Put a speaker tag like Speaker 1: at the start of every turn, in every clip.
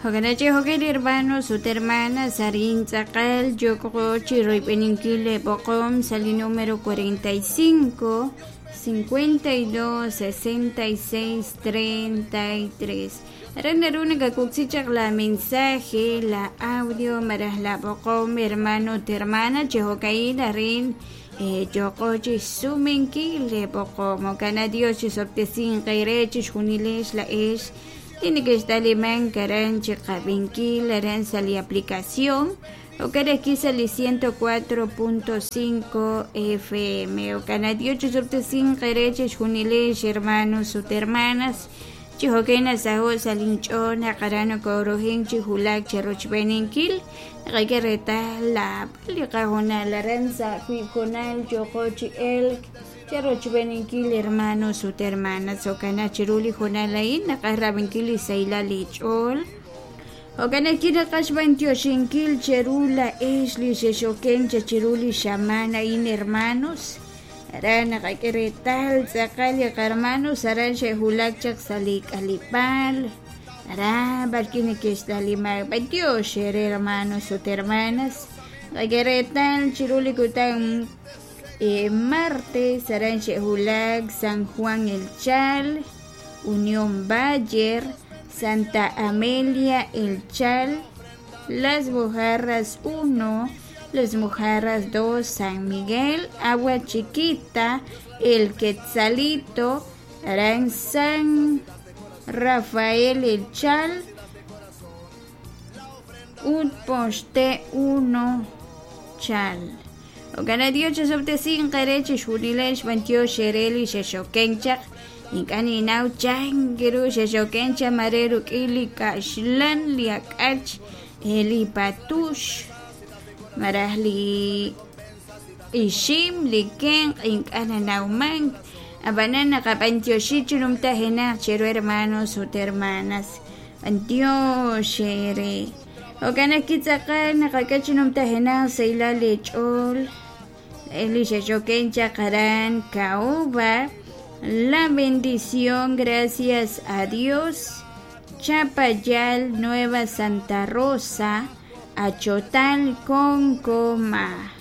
Speaker 1: Jo'kan chi hermanos ut hermanas arin tz'aqal yok'o chi royb'eninkil le b'oqom sa' li número 45 52 66 33. Aran naru nakakuksi chaq la mensaje, la audio malaj la b'oqom hermano ut hermana chi jo'ka'in arin yoqo chi xsumenkil le b'oqom. Jo'kan Dios chisob'tesinq eere chixjunilex la'ex li nekextalimank aran chi qab'inkil aran sa' li aplicación jo'kan ajwi' sa' li 104.5 FM. Jo'kan Dios chisob'tesinq eere chixjunilex hermanos ut hermanas chi jo'kan nasaho' sa' linch'ool naq aran nokorohin chi wulak cherochb'eeninkil naqak'e reetal laab'al li qajunal aran sa' wiib' junal yoqo chi elk cherochb'eeninkil hermanos ut hermanas. Jo'kan chiru li junal a'in naqaj rab'inkil li sahilal li ch'ool. Jo'kan ajwi' naqaj xb'antioxinkil cheru la'ex li xexoken chiru li xamaan a'in hermanos. Aran naqak'e reetal tz'aqal li qarmanos aran xe'wulak chaq sa' li k'aleb'aal. Aran b'arwi' neke'xtalimak b'antiox eere hermanos ut hermanas. Naqak'e reetal chiru li kutan martes aran xe'wulak San Juan El Chal, Unión Bayer, Santa Amelia El Chal, Las Mojarras 1, Las Mojarras 2, San Miguel, Agua Chiquita, El Quetzalito, aran San Rafael El Chal, ut Poxte 1 Chal. Jo'kan Dios chisob'tesinq eere chixjunilex b'antiox eere li xexoken chaq ink'a' ninaw chan ru xexoken chaq mare ruk'in li kaxlan li ak'ach li patux malaj li ixim li kenq' ink'a' nanawmank ab'anan naqab'antioxi chi numtajenaq cheru hermanos ut hermanas b'antiox eere. Jo'kan ajwi' tz'aqal naqak'e chi numtajenaq sahilal li ch'ool li xexoken chaq aran Caoba, La Bendición, gracias a Dios, Chapayal, Nueva Santa Rosa, Achotal, Concoma.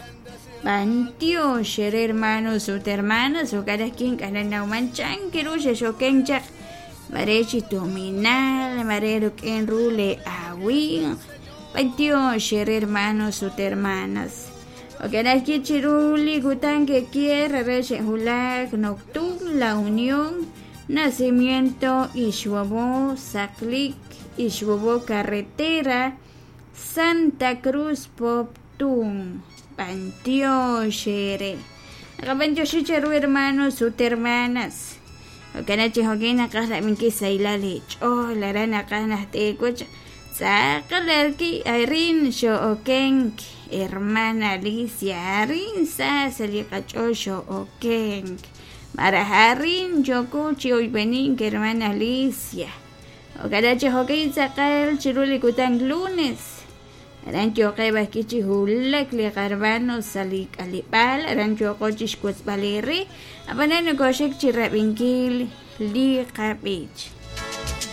Speaker 1: B'antiox eere hermanos ut hermanas jo'kan ajwi' ink'a' nanawman chan ru xexoken chaq mare chi tuminal mare ruk'in ru le awinq b'antiox eere hermanos ut hermanas. Jo'kan ajwi' chiru li kutan kekier re xe'wulak Noctum, La Unión, Nacimiento, Ixbobo, Saqlik, Ixbobo Carretera, Santa Cruz, Poptún. B'antiox eere. Naqab'antioxi cheru hermanos ut hermanas. Jo'kan chi jo'kin naqaj rab'inkil sahilal li ch'ool aran naqaj najt'eekuch tz'aqal arin xo'okenk hermana Alicia arin sa sa' li qach'ool xo'okenk malaj arin yoko chi oyb'enink hermana Alicia. Jo'kan chi jo'kin tz'aqal chiru li kutan lunes aran yoqeb' ajwi' chi wulak li qarmanos sa' li k'aleb'aal aran yoqo chi xwotzb'al eere ab'anan nokoxik chi rab'inkil li qab'ich.